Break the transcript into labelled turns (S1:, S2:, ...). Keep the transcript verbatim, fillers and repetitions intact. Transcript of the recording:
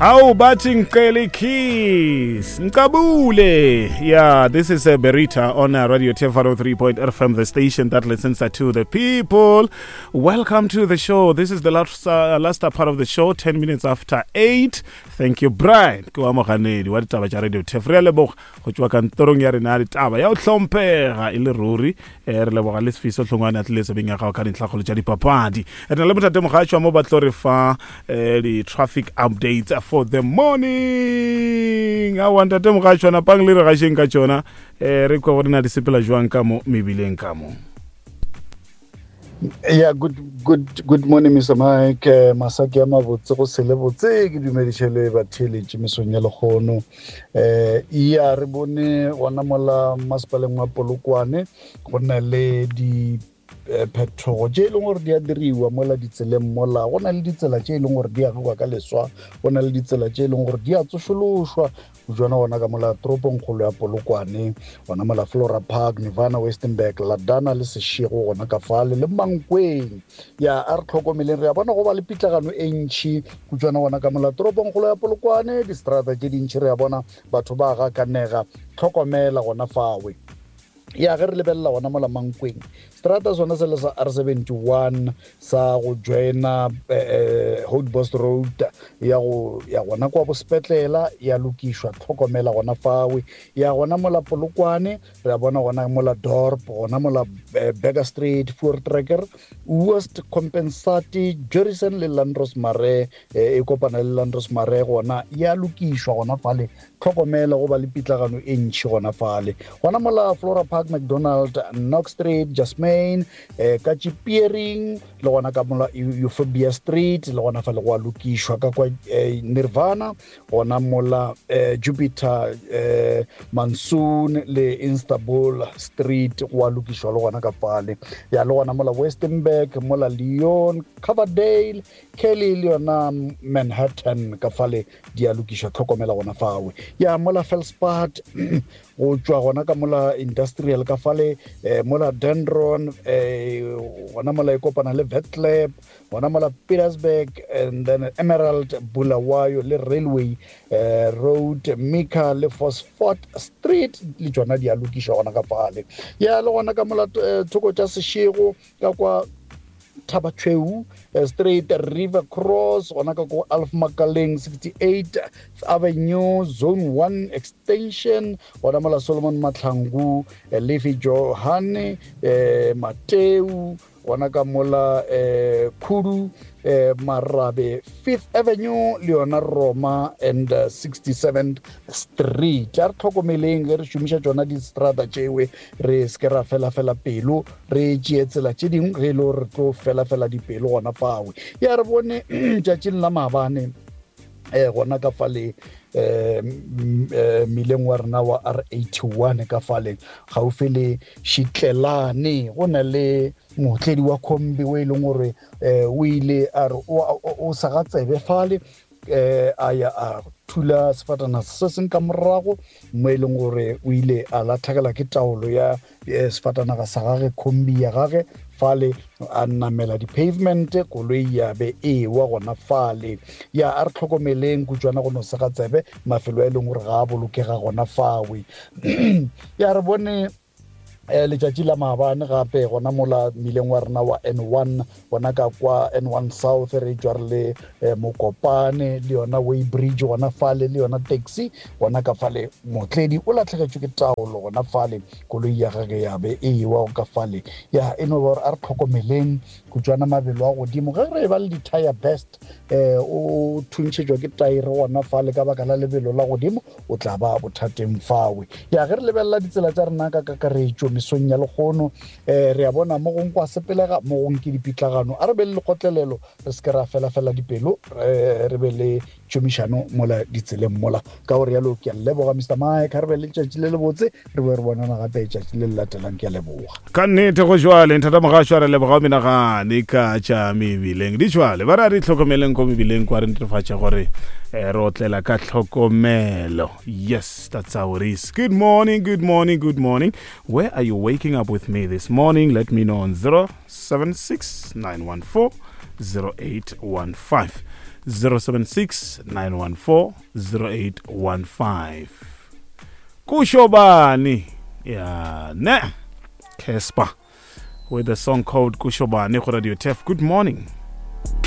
S1: Awu bathi ngicela ikiss Ngicabule. Yeah, this is uh, Berita on uh, Radio T F one oh three point F M, the station that listens to the people. Welcome to the show. This is the last, uh, last part of the show, ten minutes after eight. Thank you, Brian. Ke wa moganedi wa ditaba tša Radio T F. Re a leboga go tšwa kantorong ya rena ya ditaba ya go hlomphega e le ruri. Eh, re leboga le Sifiso Hlongwane a tlile tsebeng ya gago ka dintlhakgolo tša dipapadi. Re na le Motate Mogatšwa mo ba tlo re fa, eh, di-traffic updates for the morning. Aowa, Ntate Mogatšwa, napang le re gašeng ka tšona. Eh, re kwa gore na di sepela jwang ka mo mebileng ka mo.
S2: Yeah, good, good, good morning, Mister Mike. Eh, masaki a mabotse go se le botse, ke dumediše le batheeletši mesong ya lekgono. Eh, ya re bone gona mola masepaleng wa Polokwane go na le di, eh, phetogo tše e leng gore di a diriwa mola ditseleng mola. Go na le ditsela tše e leng gore di agiwa ka leswa, go na le ditsela tše e leng gore di a tsošološwa. Jona gona ka mola toropongkgolo ya Polokwane, gona mola Flora Park, Nirvana, Westenburg, Ladana le Seshego gona ka fale le Mankweng. Ya, a re tlhokomeleng, re a bona go ba le pitlagano e ntšhi kutšwana gona ka mola toropongkgolo ya Polokwane, distrata tše dintšhi re a bona batho ba gakanega. Tlhokomela gona fawe. Ya, ge re lebelela gona mola Mankweng, strata sona se le sa R seventy-one sa go joina, eh, eh, Houtbos Road ya go ya gona kwa bosepetlela ya lokišwa, tlhokomela gona fawe. Ya gona mola Polokwane re a bona gona mola Dorp, gona mola, eh, Burger Street, Voortrekker, West Compensati, Jurison le Landros Mare, eh, e kopana le Landros Mare gona ya lokišwa gona fale. Tlhokomela go ba le pitlagano e ntšhi gona fale. Gona mola Flora Park, McDonald, Knox Street, Jasmine, eh, Kachipiering, le gona ka mola Eu-, Euphorbia Street, le gona fale go a lokišwa ka kwa, eh, Nirvana, gona mola, eh, Jupiter, eh, Monsoon le Istanbul Street go a lokišwa le gona ka fale. Ya, le gona mola Westenburg, mola Leon, Coverdale, Kelly le yona Manhattan ka fale di a lokišwa, tlhokomela gona fawe. Ya, mola Felspad, go tšwa gona ka mola Industrial ka fale, eh, mola Dendron, eh, gona mola e kopana le Vetlab, gona mola Petersburg, and then Emerald, Bulawayo le Railway, eh, Road, Mika le Phosphate Street le tšona di a lokišwa gona ka fale. Ya, le gona ka mola, eh, thoko tša Seshego ka kwa Thabatshweu, eh, Street, River Cross, gona ka ko Alf Makaleng, sixty-eight Avenue, Zone one Extension, gona mola Solomon Mahlangu, eh, Lefi Johane, eh, Mateu, gona ka mola, eh, Khudu, eh, Marabe, Fifth Avenue, le yona Roma and, eh, sixty-seventh Street. A re tlhokomeleng ge re šomiša tšona distrata tšewe, re se ke ra fela-fela pelo, re tšee tsela tše dingwe ge e le gore re tlo fela-fela dipelo gona fawe. Ya, re bone tšatšing la maabane, eh, gona ka fale, eh, m-, eh, mmileng wa rena wa R eighty-one ka fale gaufi le Shitlelane, go na le mootledi wa kombi o e leng gore, eh, o ile a re o, o, o sa ga tsebe fale, eh, a ya a thula sefatanaga se seng ka morago, mo e leng gore o ile a latlhegelwa ke taolo ya, eh, sefatanaga sa gage, kombi ya gage fale, a namela di-pavement, koloi ya be e wa gona fale. Ya, a re tlhokomeleng kutšwana go no sega tsebe mafelo a e leng gore ga a bolokega gona fawe. Ya, re bone, eh, letšatši la maabane gape gona mola mmileng wa rena wa N one, gona ka kwa N one South, re tšwa re le, eh, Mokopane le yona Weigh Bridge gona fale, le yona taxi gona ka fale, mootledi o latlhegetšwe ke taolo gona fale, koloi ya gage ya be e ewa ka fale. Ya, e no ba gore a re tlhokomeleng kutšwana mabelo a godimo ge re ba le di-tire burst, eh, o thuntšhetšwa ke taere gona fale ka baka la lebelo la godimo, o tla ba bothateng fawe. Ya, ge re lebelela ditsela tša rena ka kakaretšo mesong ya lekgono, eh, re a bona mo gongwe kwa sepelega, mo gongwe ke dipitlagano. A re be le lekgotlelelo, re se ke ra fela-fela dipelo, re, re be le tšhomišano mola ditseleng mola. Ka gore yalo ke a leboga Mister Mike, a re be le letšatši le lebotse, re boe re bonana gape letšatši le le latelang. Ke a leboga.
S1: Ka nnete go jwale, Nthata Mogasho, a re leboga o menagane ka tša mebileng. Di jwale, ba re a re itlhokomeleng ko mebileng kwa, re netefatše gore, eh, re otlela ka tlhokomelo. Yes, that's how it is. Good morning, good morning, good morning. Where are you waking up with me this morning? Let me know on zero seven six nine one four zero eight one five. zero seven six nine one four zero eight one five. Kushobani. Yeah, ne. Cassper with the song called Kushobani go Radio Turf. Good morning.